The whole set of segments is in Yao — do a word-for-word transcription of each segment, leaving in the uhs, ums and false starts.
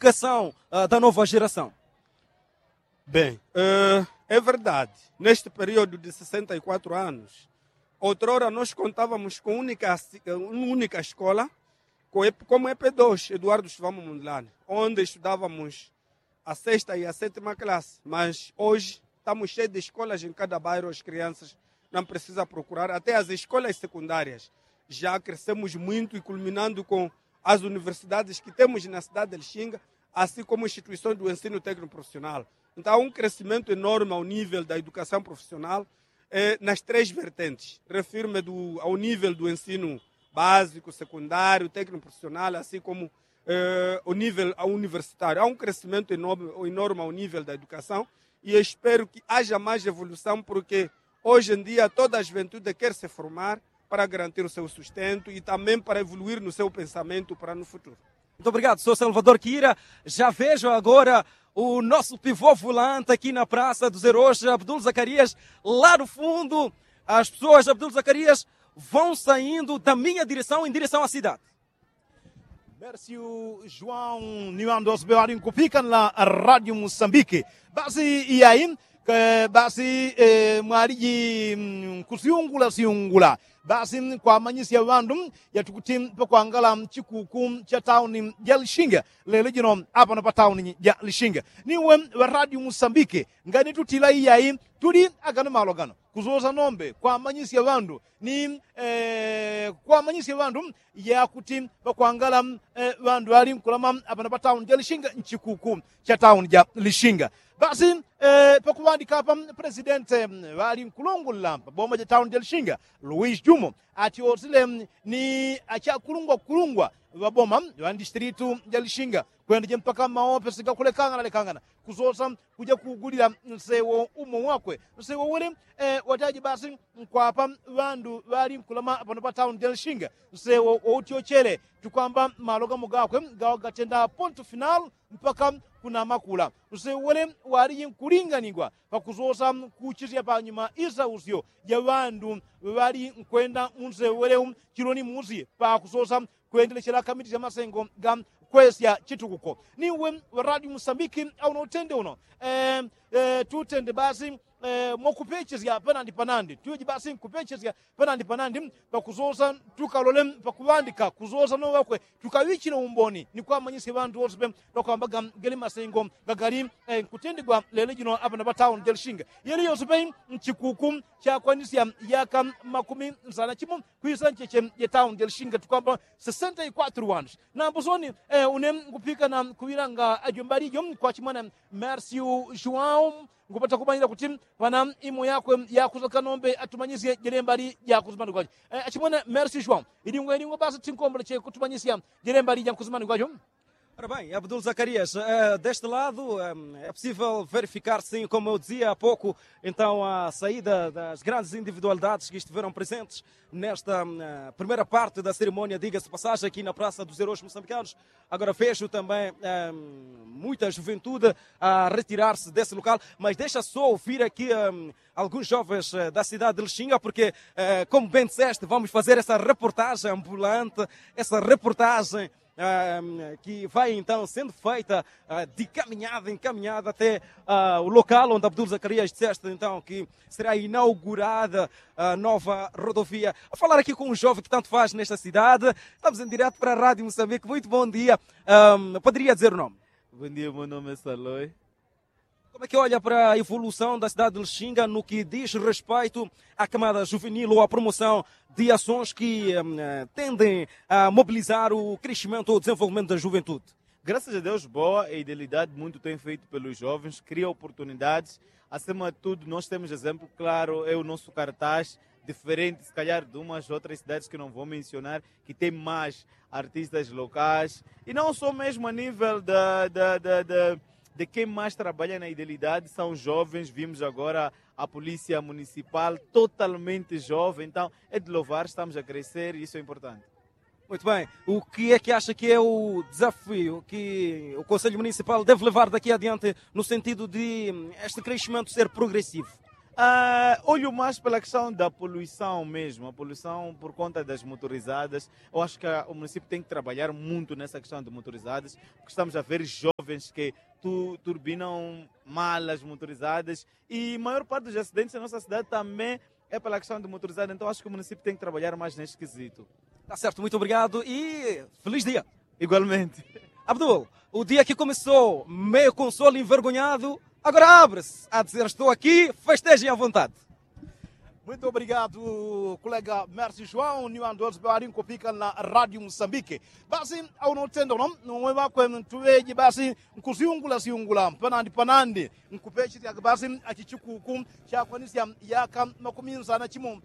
educação da nova geração? Bem, é verdade, neste período de sessenta e quatro anos, outrora nós contávamos com única escola, como ep dois eduardo stivamo mundlani, onde estudávamos a sexta e a sétima classe, mas hoje estamos cheios de escolas em cada bairro as crianças não precisam procurar até as escolas secundárias. Já crescemos muito e culminando com as universidades que temos na cidade de lixinga, assim como instituições do ensino tecnoprofissional. Então há um crescimento enorme ao nível da educação profissional nas três vertentes, refiro-me ao nível do ensino básico, secundário, tecnoprofissional, assim como o nível universitário. Há um crescimento enorme ao nível da educação e espero que haja mais evolução porque hoje em dia toda a juventude quer se formar para garantir o seu sustento e também para evoluir no seu pensamento para no futuro. Muito obrigado, sou salvador kira. Já vejo agora o nosso pivô volante aqui na praça dos heróis abdul zacarias, lá no fundo as pessoas abdul zacarias vão saindo da minha direção em direção à cidade. Mersiu juaun ni wandu osbe wali nkupikana la radio musambiki. Basi iyayi basi mwaliji nkusiungula siungula basi kwamanyisya wandu yatukuti pakwangala chikuku cha tauni ja lishinga lelo jino apano pa tauni ja lishinga. Niwe wa radio musambiki ngani tutila iyayi tuli agano malo gano kusosa nombe kwamanyisya wandu ni kwamanyisya wandu yakuti pakwangala wandu wali nkulama apano pa tauni ja lishinga nchikuku cha tauni ja lishinga. Basi pakuwandika apa presidente wali nkulungula paboma ja tauni ja lishinga luis jumo atiosile ni achakulungwa kulungwa waboma wa ndistritu ja lishinga kwenda ja mpaka maopesi gakulekangana lekangana kusosa kuja kugulila nsewo umo wakwe nsewo wele. Wataji basi nkwapa wandu wali nkulama pano pa tauni ja lishinga nsewo wautyochele tukwamba malo gamo gakwe gawa gatenda pontu final mpaka kunamakula. Nsewo wele waliji nkulinganigwa pakusosa kuchisya panyuma isausyo ja wandu wali nkwenda mu nsewo wele chiloni musi pakusosa kwendelechela kamiti sya masengo ga kwesya chitukuko. Niwe wa radio musambiki auno utende uno tutende basi mwakupechesya panandi panandi tuweji basi nkupechesya panandi panandi pakusosa tukalole pakuwandika kusosa nowakwe tukawichile umboni ni kwamanyisya wandu wose pe pakwambaga geli masengo gagali nkutendigwa lelo jino apano pa tauni ja lishinga. Yeli yose pe nchikuku chakwanisya yaka makumi nsana chimo kwisa ncheche ja tauni ja lishinga tukwamba sesenta i kwatru wandu. Nambo soni une ngupikana kuwilanga ajo mbali jo kwa chimwana mersiu juaun ngupata kumanila kuti pana imo yakwe yakusoka nombe atumanyisye jele mbali jakusumanikwajo. Achimwana mersiu juaun ilingwa ilingwa basi tinkomboleche kutumanyisya jele mbali jankusumanikwajo. Ora bem, abdul zacarias, deste lado é possível verificar sim como eu dizia há pouco, então a saída das grandes individualidades que estiveram presentes nesta primeira parte da cerimónia diga-se passagem aqui na praça dos heróis moçambicanos. Agora vejo também muita juventude a retirar-se desse local, mas deixa só ouvir aqui alguns jovens da cidade de lixinga porque como bem disseste vamos fazer essa reportagem ambulante, essa reportagem que vai então sendo feita de caminhada em caminhada até o local onde abdul zacarias disseste então que será inaugurada a nova rodovia. A falar aqui com um jovem que tanto faz nesta cidade, estamos em direto para a rádio moçambique. Muito bom dia. Poderia dizer o nome? Bom dia, meu nome é saloi. Como é que olha para a evolução da cidade de lixinga no que diz respeito à camada juvenil ou à promoção de ações que tendem a mobilizar o crescimento ou desenvolvimento da juventude? Graças a deus boa a idealidade muito tem feito pelos jovens cria oportunidades. Acima de tudo nós temos exemplo claro é o nosso cartaz diferente se calhar de umas outras cidades que não vou mencionar, que tem mais artistas locais e não só mesmo a nível de quem mais trabalha na idealidade são jovens vimos agora a polícia municipal totalmente jovem então é de louvar estamos a crescer isso é importante. Muito bem, o que é que acha que é o desafio que o conselho municipal deve levar daqui adiante no sentido de este crescimento ser progressivo? Olho mais pela questão da poluição mesmo a poluição por conta das motorizadas. Eu acho que o município tem que trabalhar muito nessa questão de motorizadas porque estamos a ver jovens jovens ke turbinam malas motorizadas e maior parte dos acidentes na nossa cidade também é pela questão de motorizada. Então acho ke o município tem ke trabalhar mais neste quesito. Tá certo, muito obrigado e feliz dia. Igualmente. Abdul, o dia ke começou meio com sol envergonhado, agora abre-se a dizer estou aqui, festejem à vontade. Muito obrigado, colega mersi joão ni wandu wose ŵali nkupika na radio musambike. Basi aunotenda uno nuwe ŵakwe ntuŵeji basi nkusyungula syungula panandi panandi nkupechesya basi achichikuku chakwanisya yaka makumi nsana chimo.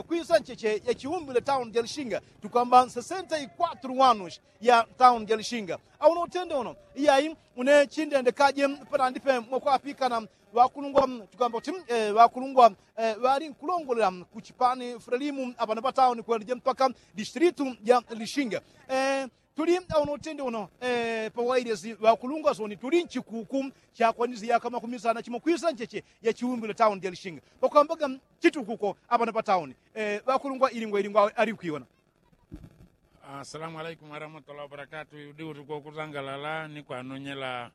Kwisa ncheche ya chiumbile tauni ja lishinga tukwamba sesenta ikwatru wanushi ya tauni ja lishinga. Aunotenda uno iyayi une chindende kaje panandi pe mwakwapikana ŵakulungwa tukamba kuti ŵakulungwa ŵali nkulongolela kuchipani fulalimu apano patauni kwendije mpaka distilitu ja lishinga. Tuli aunotenda uno pawailesi ŵakulungwa soni tuli nchikuku chakwanisi yaka makumi sana chimo kwisa ncheche ya chiumbile tauni ja lishinga pakwambaga chitukuko apano patauni. Ŵakulungwa ilingwa ilingwa ali nkwiyona. Asalamu alaikum warahmatullahi wabarakatu. Udi uti kwokusangalala ni kwanonyela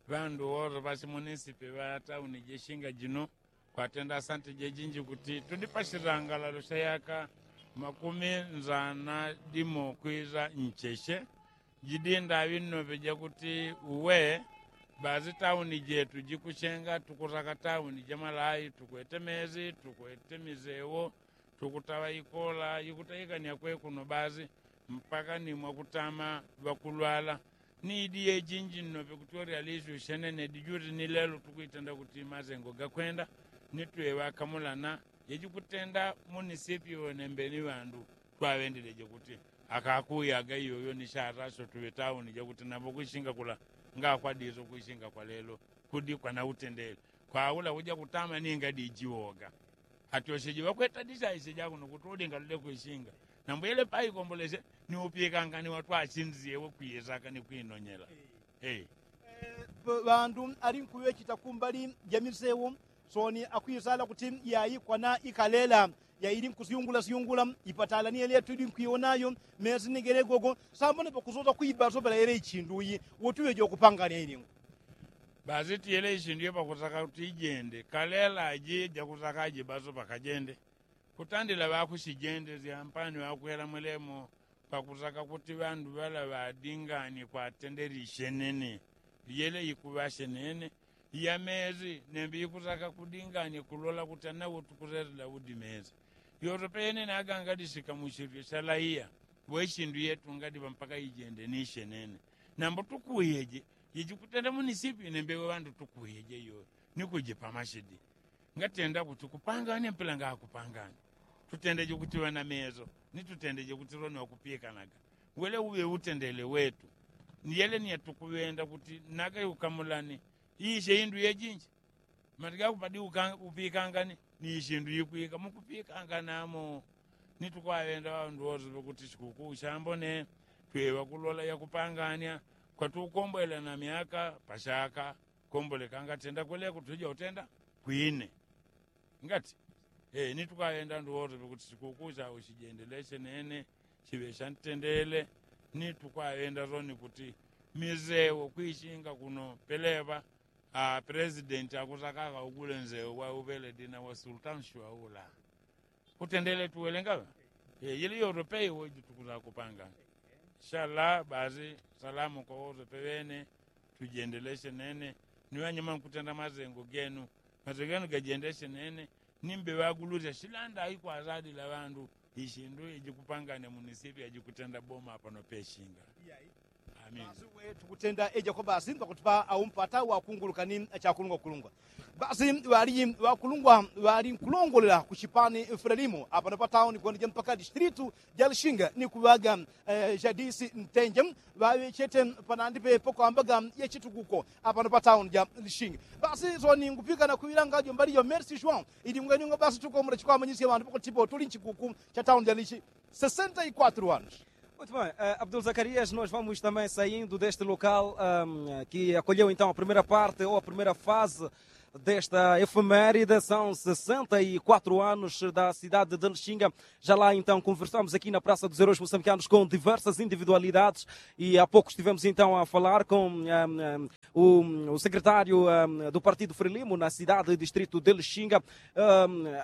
ŵandu wose ŵasi munisipi ŵa tauni ja lishinga jino kwatenda asanti jejinji kuti tudi pasisangalalo sya yaka makumi nsana dimo kwisa ncheche. Jidi ndaŵi nnoŵe jakuti uwe basi tauni jetu jikushenga tukusaka tauni ja malayi tukwete mezi tukwete misewo tukutaŵa ikola ikutaikania kwekuno basi mpaka ni mwakutama ŵakulwala. Ni idi yejinji nnoŵe kuti oryalisi ushenene dijuti ni lelo tukwitenda kuti masengo gakwenda ni tweŵakamulana. Jejikutenda munisipi wene mbeni ŵandu twaŵendileje kuti akakuyaga iyoyo ni shata syo tuŵe tauni jakuti nambo kwishinga kula ngakwa diso kwishinga kwa lelo kudi kwana utendele kwa ula uja kutama ninga dijiwoga. Atyosheje ŵakweta dishaishe jakuno kuti ulinga lule kwishinga nambwele paikomboleshe ni upikangani watwashinzyewe kwiyesaka ni kwinonyela. Ŵandu ali nkuŵechita kumbali ja misewo soni akwisala kuti yayi kwana ikalela yaili nkusyungula syungula ipatala ni yele yatwili nkwiwonayo mesi ni gele gogo. Sambone pakusosa kwibaso pela yele ichindu iyi wotuŵeje wakupangania ilingo. Basi tiyele ishindu iyo pakusaka kuti ijende kalela aji jakusaka ajibaso pakajende kutandila ŵakushijende syampani ŵakuhela mwelemo pakusaka kuti ŵandu ŵala ŵadingani kwatendele ishenene. Yele ikuŵa shenene ya mezi nembe ikusaka kudingani kulola kuti anawo tukusesela udi mezi. Yoto pene nagangadisika mushitu shalaiya ŵe shindu yetu ngadiŵa mpaka ijende ni shenene. Nambo tukuyeje jejikutenda munisipi nembe ŵe ŵandu tukuyeje yoyo ni kujipa mashidi. Ngatenda kuti kupanganya mpela ngakupanganya tutendeje kuti ŵana mezo ni tutendeje kuti loni ŵakupikanaga. Wele uŵe utendele wetu ni yele ni yatukuŵenda kuti nagayukamulani. Ishe indu yejinji mati gakupadi upikangani ni ishindu ikwika mukupikangana mo. Ni tukwaŵenda ŵandu wose ŵakuti shikuku shambone tweŵa kulola yakupanganya kwatukombwela na myaka pashaka komboleka ngatenda kweleko tuja utenda kwine. Ngati ni tukwaŵenda ŵandu wose ŵakuti shikuku shao shijendeleshe nene shiŵe shantendele. Ni tukwaŵenda soni kuti misewo kwishinga kuno peleŵa a presidenti akusakaka ugule nsewo wa uŵeledi na wa sultan shwaula. Kutendele tuwelengaŵa yili yoto peiwo jitukusa kupanga. Shala basi salamu kwa wose peŵene tujendeleshe nene. Ni ŵanyuma nkutenda masengo genu masengo genu gajendeleshe nene. Ni mbeŵagulusya shilanda ikwasadila ŵandu ishindu ijikupanganya munisipi ajikutenda boma pano peshinga. Amina. Tukutenda eja kwa basi ŵakuti pa aumpata wakunguluka ni chakulungwa kulungwa. Basi ŵali ŵakulungwa ŵali nkulongolela kuchipani fulelimo apano patauni kwendija mpaka distilitu ja lishinga ni kuŵaga jadisi ntenje ŵaŵechete panandi pepo kwambaga yachitukuko apano patauni ja lishinga. Basi soni ngupikana kuŵilanga jo mbali jo mersi shwao ili ngweningwa basi tukombola chikwamanyisya ŵandu pakuti po tuli nchikuku cha tauni ja lishinga. Sesenta ikwatru anos. Muito bem, abdul zakarias nós vamos também saindo deste local que acolheu então a primeira parte ou a primeira fase desta efeméride são sessenta e quatro anos da cidade de lishinga. Já lá então conversamos aqui na praça dos heróis moçambicanos com diversas individualidades e há pouco estivemos então a falar com o secretário do partido frelimo na cidade e distrito de lixinga.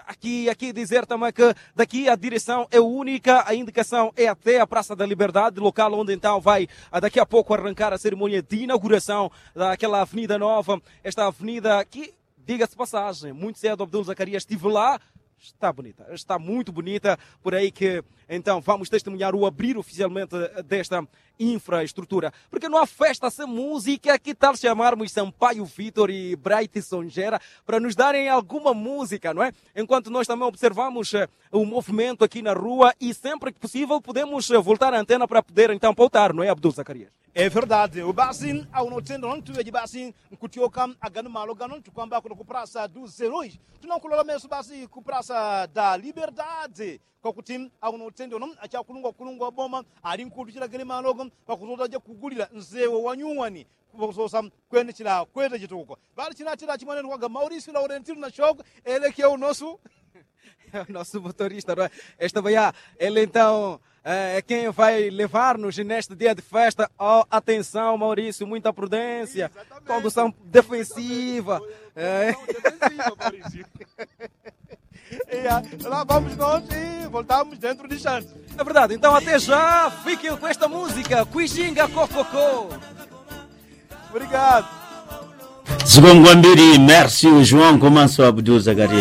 Aqui aqui dizer também que daqui a direção é única a indicação é até a praça da liberdade local onde então vai daqui a pouco arrancar a cerimônia de inauguração daquela avenida nova. Esta avenida que diga-se passagem muito cedo abdul zacarias estive lá. Está bonita, está muito bonita. Por aí que então vamos testemunhar o abrir oficialmente desta infraestrutura. Porque não há festa sem música que tal chamarmos sampaio vitor e bright songera para nos darem alguma música, não é? Enquanto nós também observamos o movimento aqui na rua e sempre que possível podemos voltar a antena para poder então pautar, não é, abdul zacarias? É verdade. Basi aunotendo nontu weji basi nkutioka agano malo gano ntukwamba kuno kuprasa du zeroi. Tunakulola meso basi kuprasa da liberdade kwakuti aunotendo no achakulungwa kulungwa boma ali nkutuchila gele malogo. Pakusosa jakugulila nzewe wanyuwani pakusosa kwene chila kwete chitukuko. Bali chinatila chimwanenukwaga maurisi laurentino na shoko. Ele ke unosu nosu motorista no esta baya. Ele então é quem vai levar-nos neste dia de festa. Atenção maurício muita prudência. Condução defensiva. Lá vamos nós e voltamos dentro de instantes. É verdade então até já fiquem com esta música cuijinga cococô. Obrigado. Zibongwa mbili merci joão komanso abdul zacarias.